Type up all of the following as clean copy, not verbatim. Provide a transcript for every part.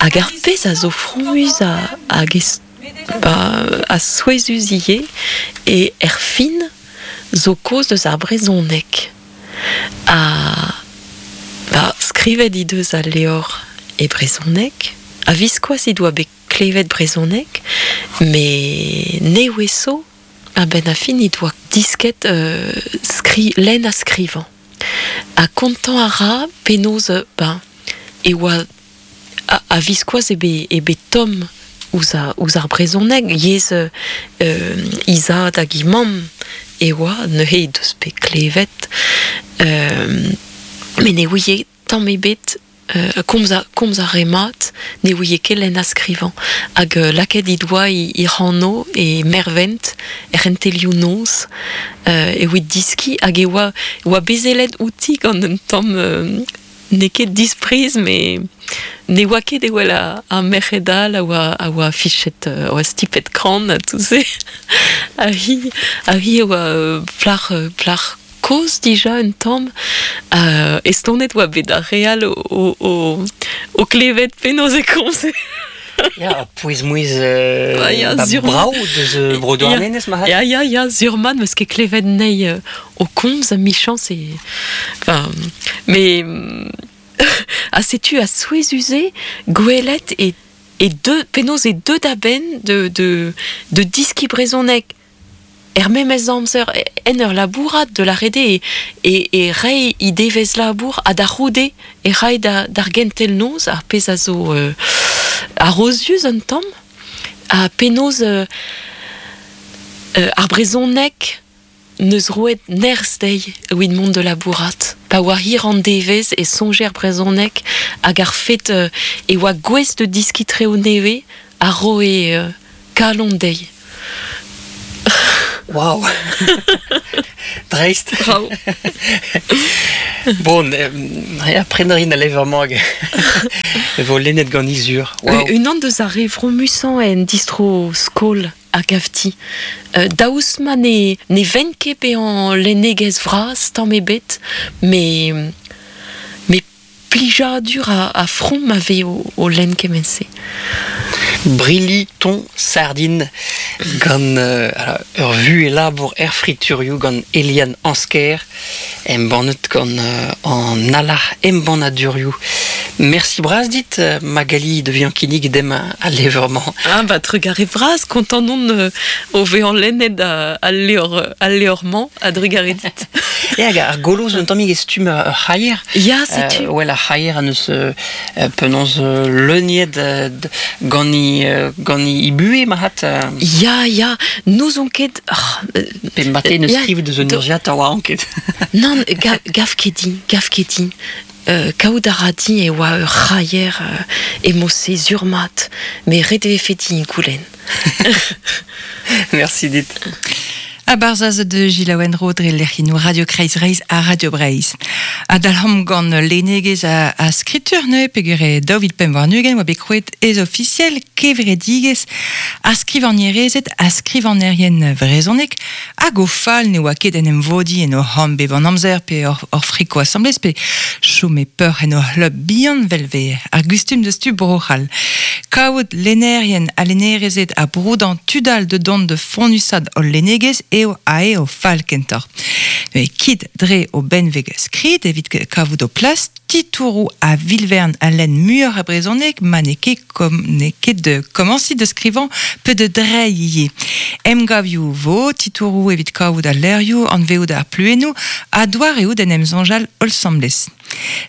Hag ar pezh a zo fromus hag ba, ha souezhus ivez eo er fin zo kaoz deus ar brezhoneg. Ha ba, skrivet he deus al levr e brezhoneg, a-viskoazh he doa bet klevet brezhoneg, met nevez zo a-benn ar fin he doa disket lenn ha skrivañ. Ha kontañ a ra penaos ben e oa a-viskoazh eo bet eo bet tomm ouzh ouzh ar brezhoneg, yezh he zad hag he mamm e oa, neuze he deus bet klevet met ne ouie tamm ebet Komz a, komz a rae mat, ne ouie ket lenn ha skrivañ, hag lakaet he doa he anv e Mervent er c'hentelioù-noz evit diskiñ, hag e oa, e oa bezelet outi gant un tamm n'eo ket dispriz, met ne oa ket evel ar merc'hed all a oa, a oa fichet, a oa stipet kran ha tout se. Ha hi, ha hi a oa plac'h, plac'h kozh dija un tamm. Estonet oa bet ar re all o klevet penaos e komze. Ya, pouez-mouezh ya, ba brav deus bro Douarnenez marc'had. Ya, ya, ya, sur-mat, 'meus ket klevet anezhi o komz, emichañs e... Enfin, mais... ha setu a souezhus-se gwelet e, e deu, penaos e deu da benn de, de, de diskiñ brezhoneg Er memes amzer, en ur labourat de lâret eo e reiñ he devezh labour ha da c'houde e ray d'ar gentel-noz ar pezh a zo arozius un tamm ha penaos ar brezhoneg 'neus roet nerzh dezhi evit mont da labourat. Pa oa hir an devezh e soñje er brezhoneg hag ar fet e oa gouest da diskiñ traoù nevez a roe kalon dezhi. Waouh Dreist Bravo Bon, ya, prenañ a rin al levr-mañ hag e vo lennet ganit sur. Wow. Unan deus ar re fromusañ en distro-skol a gav ti. Daoust ma ne, ne venn ket bezañ lennegezh vras tamm ebet, met met Plijadur ha from a vez o lenn kement-se. Brilli ton sardin gant ur vuhez labour er friturioù gant Eliane Ansker, embannet gant an Alarc'h Embannadurioù. Merci bras dit, Magali, de vezañ kinnig demp al levr-mañ. Ah bah trugarez vras, kontant on o vezañ lennet al levr al levr-mañ a-drugarez dit. Ya, hag ar golo zo un tammig e stumm ur c'haier. Ya, setu. Well, ar c'haier an eus penaos leuniet gant he buhez, marc'had. Ya, ya, n'ouzon ket... Pe mate neus skrivet deus un urzhiataer oa ket. Nann, gav ket din, gav ket din. Kaout a ra din e oa ur c'haier e-mod-se sur-mat, met ret e vefe din goulenn. Merci dit. A barzhaz de Gilaouen Ro dre lec'hinoù Radio Kreiz Reizh ha Radio Breizh. Ha dalc'homp gant lennegezh a skritur neuze peogwir e 2025 oa bet krouet ez ofisiel kevredigezh ar skrivagnerezed ha skrivagnerien vrezhonek hag o fal ne oa ket en em vodiñ en o c'hamp bep an amzer pe hor friko asambles pe chom e peoc'h en o c'hlub bihan 'vel 'vez ar gustum deus tu Bro-C'hall. Kavout lennerien ha lennerezed ha broudañ tud all da dont da fonnusat hol lennegezh eo ae o fal kentoc'h. Neuze kit dre o benveg skrid evit kavout ho plas, titouroù a vil-vern a lenn muioc'h a brezhoneg ma n'eo ket kom n'eo ket da komañsiñ da skrivañ pe da dreiñ ivez. Emgavioù 'vo, titouroù evit kavout al levrioù, anveout ar pluennoù ha doareoù d'en em soñjal holl 'sambles.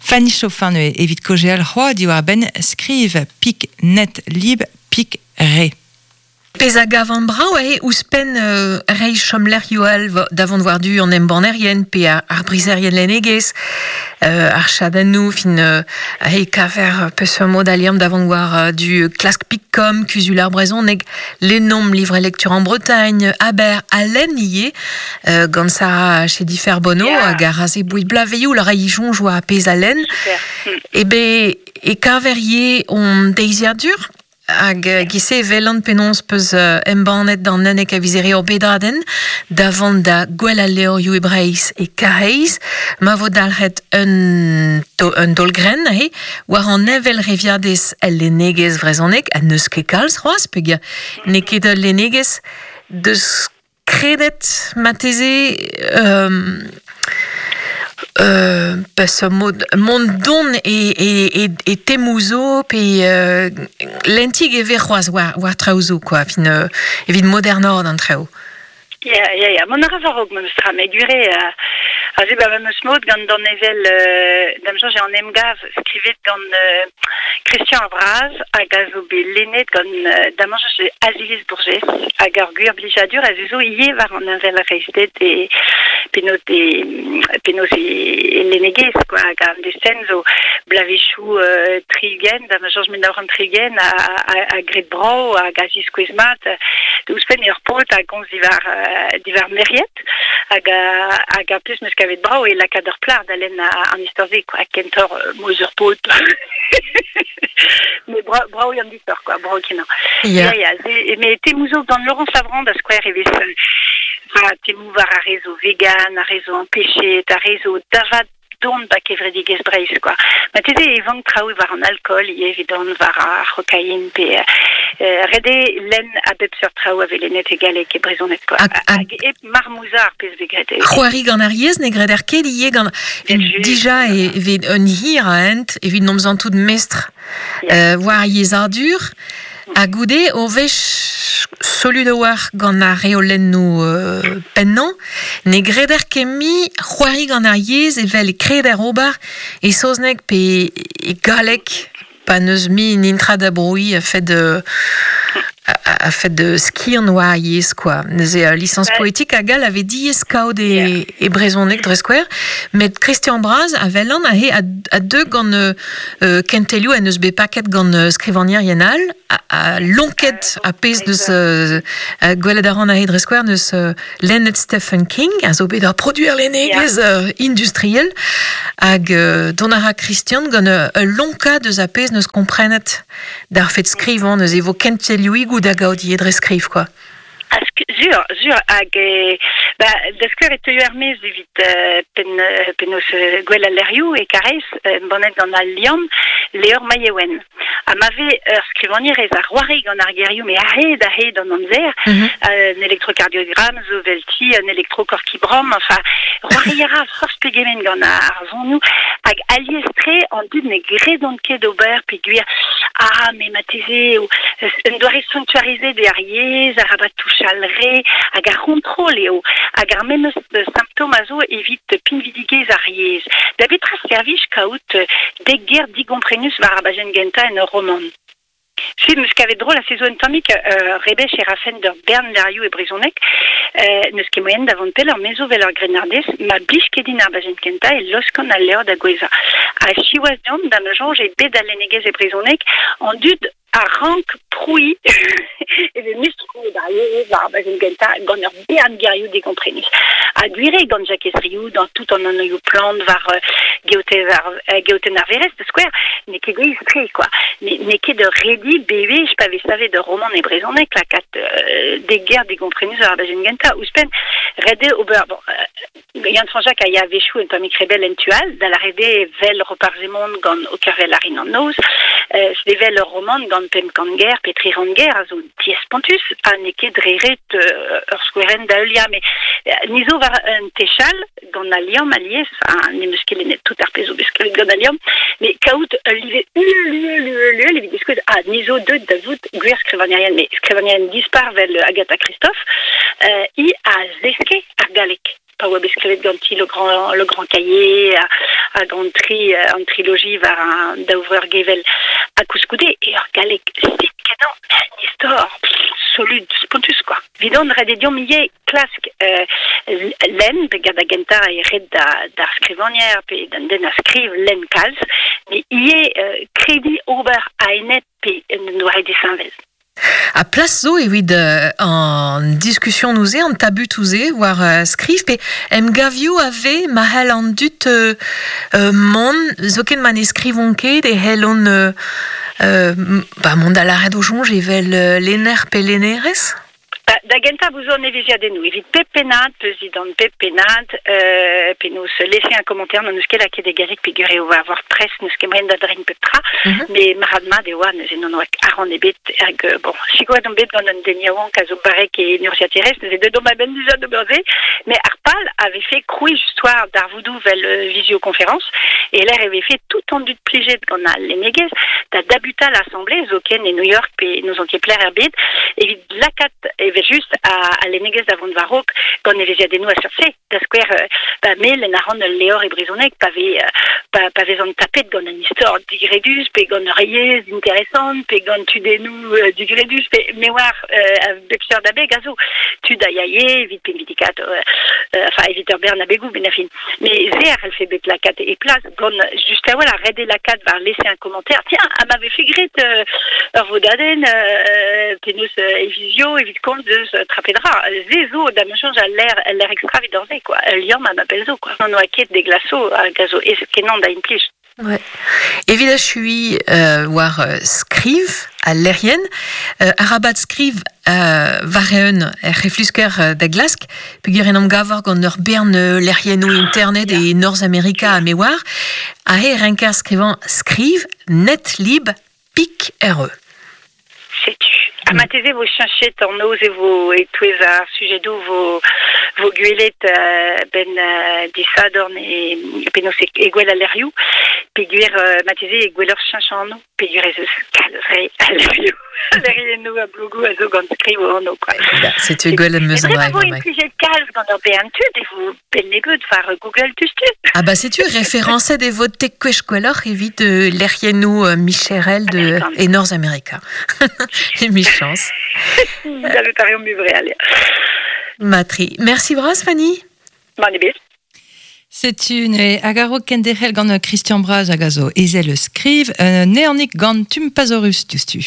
Fanny Chauffin neuze evit kaozeal c'hoazh diwar-benn skriv pik net lib pik re. Pezh a gavan brav eo ouzhpenn reiñ chomlec'hioù all da vont war-du an embannerien pe ar brizerien lennegezh, ar chadennoù, fin e kaver peseurt mod a liamm da vont war-du klask Picom, Kuzul ar brezhoneg, Lennomp, Livre et lecture en Bretagne, Aber ha lenn ivez gant Sarah Chedifer-Bonneau hag ar aze boued blaveioù la rai soñj war pezh a lenn. Ebe e kaver ivez hon deiziadur. Hag gise velan penaos peus embannet d'an unnek a viz here ur bedadenn da vont da gwell al levrioù e Breizh e Karaez, ma vo dalc'het un, to, un daol-grenn aze war an heñvelreviadez el lennegezh vrezhonek, ha n'eus ket kalz c'hoazh peogwir n'eo ket ul lennegezh deus kredet marteze peseurt mod mont don e, e, e, e temoù zo pe lentig e vez c'hoazh war, war traoù zo quoi, fin, evit modernoc'h an traoù. Ya, ya, ya. Mont a ra war-raok memes tra, met gwir eo, aze ba memes mod gant danevell da'm soñj eo an emgav skrivet gant Christian ar Braz hag a zo bet lennet gant da'm soñj Aziliz Bourgès hag ur gwir blijadur a zo ivez war an heñvelreizhded e penaos e penaos e lennegezh quoi hag an destenn zo bloavezhioù 60 da'm soñj 1960 ha graet brav hag a ziskouez mat ouzhpenn eo ur paotr a gomz diwar diwar Meriet hag hag ar pezh 'm eus kavet brav eo lakaat ur plac'h da lenn an istor-se quoi kentoc'h mouezh ur paotr met brav eo an istor quoi brav kenañ ya ya met temoù zo gant Laurence Lavrand da skouer e vez temoù war ar re zo vegan ar re zo ampechet ar re zo da vat don ba kevredigezh Breizh quoi. Marteze e vank traoù war an alkool ivez evidon war ar c'hokain pe ret eo lenn a bep seurt traoù a vez lennet e galleg e brezhoneg quoi. Hag hep marmouzañ ar pezh vez graet. C'hoari gant ar yezh ne greder ket ivez gant dija e vez un hir a hent evit n'omp santout mestr war ar yezhadur. Ha goude o wech solut a-walc'h gant ar reolennoù pennañ, ne greder ket mui c'hoari gant ar yezh evel e kreder ober e saozneg pe e galleg pa n'eus mui netra da brouiñ a-fet a-fet skiant war ar yezh quoi. Neuze lisañs poetik hag all a vez diaes kaout e, e brezhoneg dre skouer, met Christian Braz a welan aze a deu gant kentelioù en deus bet paket gant skrivagnerien all, a lonket a pezh deus gwelet a ran aze dre skouer neus lennet Stephen King a zo bet ur produer lennegezh industriel hag dont a ra Christian gant ul lonkad eus a pezh neus komprenet d'ar fed skrivañ neuze e vo kentelioùigoù da gaout ivez dre skriv quoi. Ah, sur, sur, hag ba, da skouer e teuio er-maez evit penn, penaos gwell al lec'hioù e Karaez, embannet gant Al Liamm, levr Maïewen. Ha ma vez ur skrivagnerez a c'hoari gant ar gerioù met a-hed a-hed an amzer, un elektrokardiogramm zo 'velti, un elektrokorkibrom, enfin, c'hoari a ra forzh pegement gant ar sonioù, hag alies-tre an dud ne gredont ket ober peogwir ah, met marteze eo un doare sanctuarizet eo ar yezh, arabat touchal re, hag ar c'hontrol eo, hag ar memes simptom a zo evit pinvidigezh ar yezh. Da betra servij kaout dek ger digomprenus war ar bajenn gentañ en ur romant? Se 'm eus kavet drol ha se zo un tammig rebech e rafen d'ur bern levrioù e brezhoneg. N'eus ket moaien da vont pelloc'h, me zo 'vel ur grennardez, ma blij ket din ar bajenn kentañ e laoskan al levr da gouezhañ. Ha siwazh deomp, da ma soñj eo bet al lennegezh e brezhoneg, an dud a rank prouiñ e vez mestr ar yezh war ar bajenn gentañ gant ur bern gerioù digomprenus. Ha gwir eo gant Jakez Riou dans tout an anvioù plant war geotenn ar Verez, da skouer, n'eo ket gouez-tre, quoi. N'eo ket ur redi bewech pa vez savet ur romant e brezhoneg lakaat dek ger digomprenus war ar bajenn gentañ. Ouzhpenn, ret eo ober... Bon, Yann Fañch-Jacques a ya a-wechoù un tammig rebell en tu all, da lâret eo 'vel Roparz Hemon gant O kervel a rin an noz, sevel ur romant gant 500 ger pe 300 ger a zo diaes-spontus ha n'eo ket dre ret ur skouerenn da heuliañ. Met ni zo war un techal gant Al Liamm alies, ha n'em eus ket lennet tout ar pezh zo bet skrivet gant Al Liamm, met kaout ul live uhel, uhel, uhel, uhel evit diskouez ah, ni zo deuet da vout gwir skrivagnerien, met skrivagnerien dispar 'vel Agatha Christophe, hi a zeske ar galleg. Pa oa bet skrivet ganti Le Grand, Le Grand Cahier hag an tri an triloji war an daou vreur gevel. Ha koulskoude eo ur galleg simpl-kenañ, un istor solud, spontus quoi. Vidon ret eo deomp ivez klask lenn, pe da gentañ eo ret d'ar skrivagner pe d'an den a skriv lenn kalz, met ivez krediñ ober a-enep pe en un doare disheñvel. Ha plas zo evit an diskusionoù-se, an tabutoù-se war skriv pe emgavioù a vez ma c'hell an dud mont, zoken ma ne skrivont ket e c'hellont Ba mont da lâret o soñj evel lenner pe lennerez? Ba, da gentañ bout zo an evezhiadennoù. Evit pep pennad, peuzidant pep pennad, euh, penaos laisser un commentaire, n'on eus ket lakaet e galleg peogwir eo war WordPress, n'eus ket moaien da dreiñ pep tra, met marc'had-mat e oa, neuze n'on oa arc'hant ebet, hag bon, sikouret on bet gant un den yaouank a zo barrek e urzhiaterezh, neuze deuet omp a-benn dija d'ober se, met ar pal a vefe krouiñ just war darvoudoù 'vel visioconférence, e lec'h e vefe tout an dud plijet gant al lennegezh da dabutal asambles, zoken e New York pe n'ouzon ket pelec'h er bed, evit lakaat evel-just al lennegezh da vont war-raok gant evezhiadennoù a seurt-se. Da skouer, ba me lenn a ran ul levr e brezhoneg pa vez pa, pa vezan tapet gant un istor digredus pe gant ur yezh interesant pe gant tudennoù digredus pe me oar a bep seurt abeg a zo. Tud a yae evit pinvidikaat, enfin evit ur bern abegoù benn ar fin. Mais se a c'hellfe bet lakaat e plas gant just a-walc'h ret eo lakaat war laisser un commentaire. Tiens, ha ma vefe graet ur vodadenn penaos e vizio evit komz deus trapedra. Se zo da ma soñj al lec'h al lec'h extra evit se quoi. Ul liamm ha ma pell zo quoi. N'on oa ket de glaso hag a zo aes-kenañ da implij. Ouais. Evit achuiñ war skriv al lec'hienn, arabat skriv war-eeun er c'heflusker da glask, peogwir en em gavor gant ur bern lec'hiennoù internet e Norzhamerika ha me oar, aze e renker skrivañ skriv netlib pik RE. Setu. Ha marteze vo cheñchet an noz e vo e-touez ar sujedoù vo vo gwelet benn disadorn e penaos e gwel al lec'hioù peogwir marteze e gwelloc'h cheñch anv peogwir ez eus kalz re a lec'hioù lec'hiennoù ha blogoù a zo gant skriv o anv quoi. Setu gwell em eus an dra vo implijet kalz gant ur bern tud e vo benn-nebeut war Google tustu. Ah bah setu référencet e vo tek kwech gwelloc'h evit lec'hiennoù micherel de e Norzhamerika. Emichañs. Gallout a reomp ivreal. Matri. Merci bras Fanny. Mann ebet. Setu ne hag a-raok kenderc'hel gant Christian Braz hag a zo ezel eus Skriv, un neanig gant Tumpazorus diouzhtu.